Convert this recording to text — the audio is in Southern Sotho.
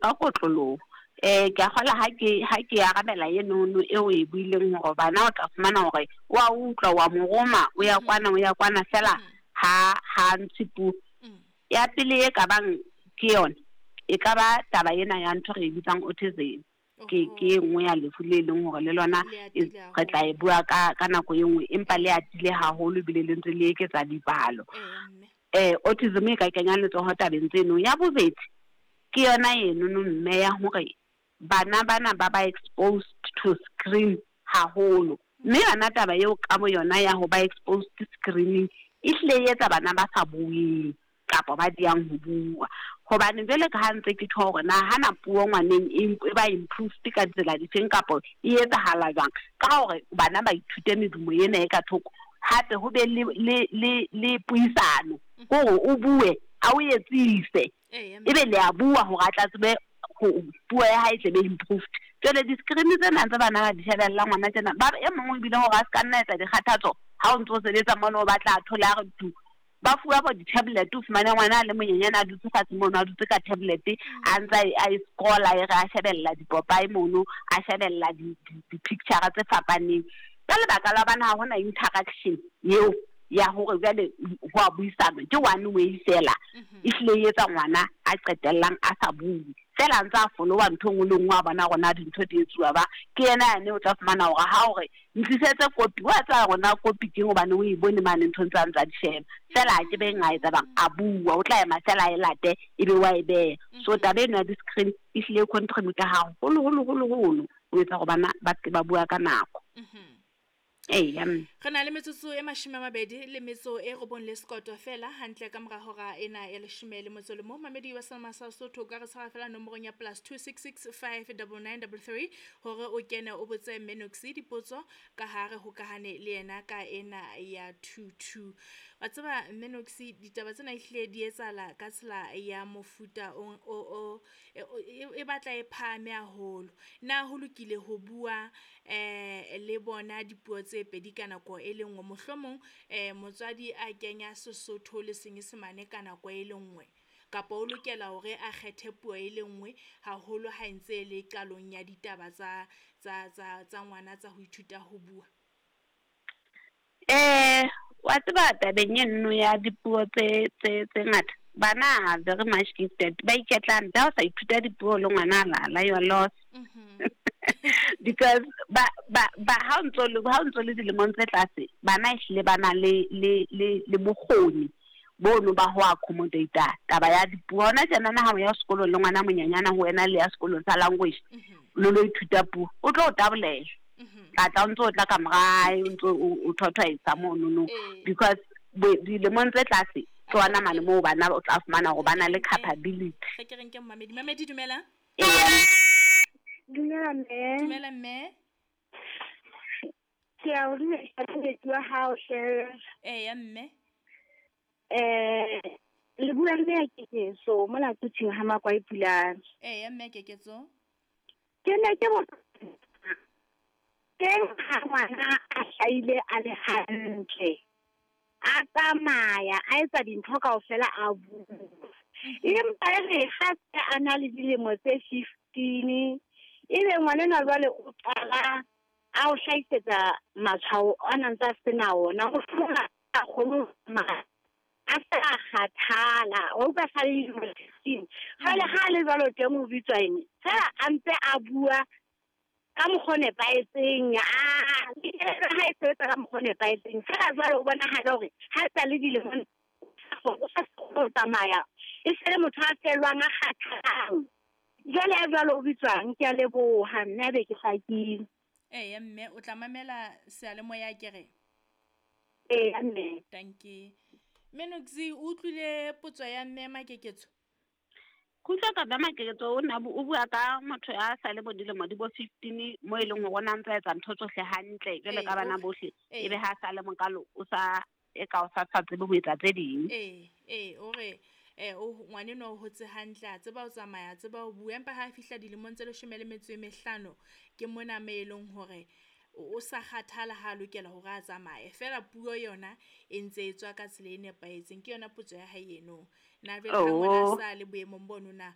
Ka kotloloho. Ke a kgola ha ke ha ke arabela enono eo o e buileng hore bana o tla fumana hore o a utlwa, wa mo roma, o ya kwana, o ya kwana fela ha ha ntshe puo. Ya pele e ka bang ke yona, e ka ba taba ena ya ntho re e bitsang autism. Ke ke e nngwe ya lefu le leng hore le lona re tla e bua ka ka nako e nngwe, empa le atile haholo ebile le ntse le eketsa dipalo. Autism e ka kenya letsoho tabeng tseno. Ya bobedi, ke yona enono mme ya hore bana bana ba ba exposed to screen haholo. Mme yona taba eo ka bo yona ya ho ba exposed screening e hlile e etsa bana ba sa bueng kapa ba diyang ho bua. Hobane jwale ka ha ntse ke tjho hore na hana puo ngwaneng e ba improved ka ditsela difeng kapa e etsahala jwang, ka hore bana ba ithute medumo ena e ka thoko, hape ho be le le le le puisano, hore o bue a o etsise, ebe le a bua hore a tla tsebe ho puo ya hae e tle be improved. Jwale di-screen tsena tse bana ba di shebellang ngwana tjena, ba e mong ebile hore a ska nna etsa dikgathatso ha o ntso sebetsa mono, o batla a thole a re tu. Ba fuwa bo di-tablet, o fumane ngwana a le monyenyane a dutse fatshe mono, a dutse ka tablet, a ntse a e scrolla, e re a shebella dipopae mono, a shebella di-picture tse fapaneng. Ka lebaka la hobane ha hona interaction eo ya hore jwale ho a buisanwa, ke one way fela, e hlile e etsa ngwana a qetellang a sa bue. Fela a ntse a follow-a ntho e nngwe le nngwe, a bona hore na dintho di etsuwa ba. Ke yena yane o tla fumana hore ha hore ntlisetse kopi, wa tseba hore na kopi keng hobane o e bone mane nthong tsa ntsa di sheba. Fela a ke beng a etsa bang, a bua, o tla ema fela a e late ebe wa e beha. So taba eno ya di-screen e hlile e contribute haholo holo holo holo ho etsa hore bana ba seke ba bua ka nako. Eya. Re na le metsotso e 29 le sekoto fela hantle ka mora hora ena ya 11. Mamedi wa Selma sa Sotho ka re tshwara fela nomorong ya +266 59933 hore o kene o botse Menoxy dipotso ka ha re hokahane le yena ka ena ya 22. Wa tseba Menoxy, ditaba tsena ehlile di etsahala ka tsela ya mofuta o e batla e phahame haholo. Na ho lokile ho bua le bona dipuo tse pedi ka nako e le nngwe? Mohlomong motswadi a kenya Sesotho le Senyesemane ka nako e le nngwe, kapa o lokela hore a kgethe puo e le nngwe haholo ha e ntse le qalong ya ditaba tsa tsa tsa tsa ngwana tsa ho ithuta ho bua? Wa tseba tabeng eno ya dipuo tse tse tse ngata, bana are very much gifted, ba iketlang. Ha o sa ithuta dipuo le ngwana a lala, you are lost. Because ba ba ba ha o ntso le ha o ntso le dilemong tse tlase, bana ehlile ba na le le le le bokgoni bono ba ho accommodate taba ya dipuo. Hona tjenana ha o ya sekolong le ngwana monyenyana ho wena le ya sekolong sa language, le lo ithuta puo, o tlo o tabolela. Tla tla o ntso o tla ka morae, o ntso o thwathwaetsa monono, because dilemong tse tlase ke ona mane moo bana o tla fumana hore ba na le capability. Re ke re nke momamedi. Mamedi, dumela. Dumela mme. Dumela mme. Ke a o dumedisa mosebetsi wa hao hle. Eya mme. Le bua mme ya Keketso mona Quthing ha Makwai Pulane. Eya mme Keketso. Ke ne ke botsa teng ha ngwana a hlahile a le hantle, a tsamaya a etsa dintho kaofela a bua, empa e re ha se a na le dilemo tse 15, ebe ngwanenwa jwale o qala a o hlahisetsa matshwao a nang tsa sena ona, mohlomong a kgone ho tsamaya, a se a kgathala, wa utlwa, sa le dilemo 15. Jwale ha a le jwalo teng o bitswa eng? Fela a ntse a bua ka mokgwa o nepahetseng, a kelello ha e sebetsa ka mokgwa o nepahetseng, fela jwale o bonahala hore ha sa le dilemong o sa kgone ho tsamaya, e se le motho a fellwang, a kgathalang. Jwale ya jwalo o bitswang? Ke a leboha mme, a be ke hlakile. Eya mme, o tla mamela seyalemoya ke re. Eya mme. Dankie. Menoxy, o utlwile potso ya mme Makeketso? Ke utlwa ka Makeketso o na o bua ka motho a sa le bo dilemo di bo 15 mo e leng hore o na ntse a etsa ntho tsohle hantle jwale ka bana bohle, ebe ha sa le mokalo o sa e ka o sa sa tsebe ho etsa tse ding. Ee, o re o ngwanenwa o hotse hantle, a tseba ho tsamaya, a tseba ho bua, empa ha a fihla dilemong tse 15 ke mona me e leng hore o sa kgathala ha a lokela hore a tsamaye, fela puo yona e ntse e tswa ka tsela e nepahetseng. Ke yona potso ya hae eno. Na jwale ha ngwana a sa le boemong bono na